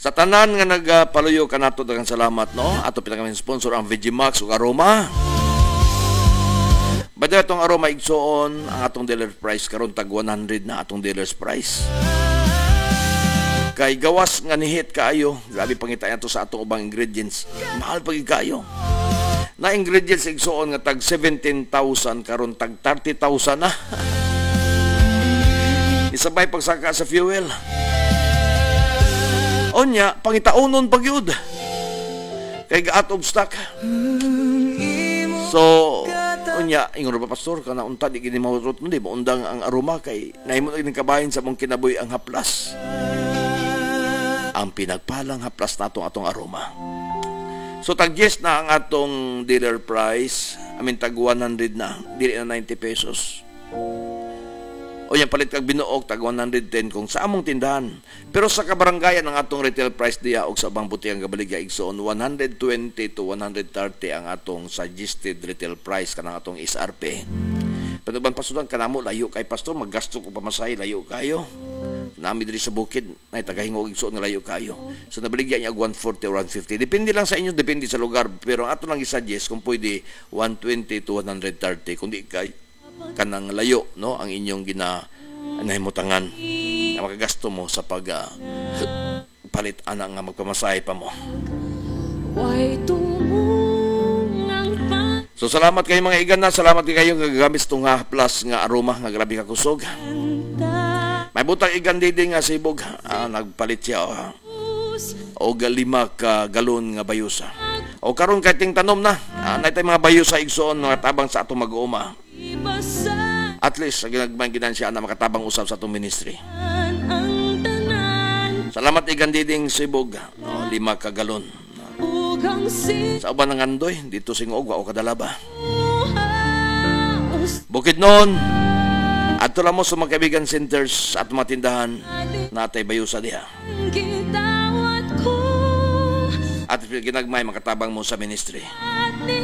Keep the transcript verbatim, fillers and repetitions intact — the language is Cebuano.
Sa tanan nga nagpaluyo kanato, daghang salamat, no? Ato pinaka sponsor ang V G Max ug Aroma. By the way, atong Aroma, igsoon, ang atong dealer price karon tag one hundred na atong dealer's price. Kay gawas nga nihit kaayo, grabe pangita to sa atong ubang ingredients. Mahal pa gyud kaayo. Na ingredients, igsoon, nga tag seventeen thousand, karon tag thirty thousand na. Isabay pagsaka sa fuel. Onya, pangitaunon pa gyud. Kay out of stock. So, unya, ingon ba, "Pastor, kana unta di gini mahurot mo, di maundang ang Aroma kay nahimo na gining kabahin sa mong kinabuhi ang haplas." Ang pinagpalang haplas nato, atong Aroma. So tag yes na ang atong dealer price, I mean, tag one hundred na, dili na ninety pesos. O yan, palit kag binuok, tag one hundred ten kung sa among tindahan. Pero sa kabaranggayan, ang atong retail price diya og sa ubang butikang gabaligya, igsoon, one hundred twenty to one hundred thirty ang atong suggested retail price, kanang atong S R P. Pero ban pasudan kanamo layo kay, Pastor, maggasto ko pamasahe, layo kayo. Nami diri sa bukid nay tagahingog, igsoon, nga layo kayo. So nabaligya niya og one forty or one fifty. Depende lang sa inyo, depende sa lugar. Pero ang ato lang i-suggest kung pwede one twenty to one thirty kung di kay kanang layo, no, ang inyong gina nahimutangan nga makagasto mo sa pag ah, palit ana nga magpamasahe pa mo. Way tumungang pa So salamat kayo, mga igan na, salamat kayo nga gagamit itong nga plus nga Aroma nga grabe ka kusog. May butang igan didi nga sibog, ah, nagpalit siya, oh, og lima ka galon nga bayusa. O karon kay ting tanom na, ah, naitay mga bayusa, igsoon, mga tabang sa atong mag-uuma. Ibasa At least sa ginagmay ginan siya na makatabang usab sa atong ministry. Ang tanan. Salamat, igan diding sibog, oh, lima ka galon. Ug ang Sa uban ng Andoy, dito singog wa o kadalaba. Sinuhaos Bukid noon, adto lang mo sa mga kaibigan centers at mga tindahan natay bayusa diha. Gitawat ko At ginagmay makatabang mo sa ministry. At ni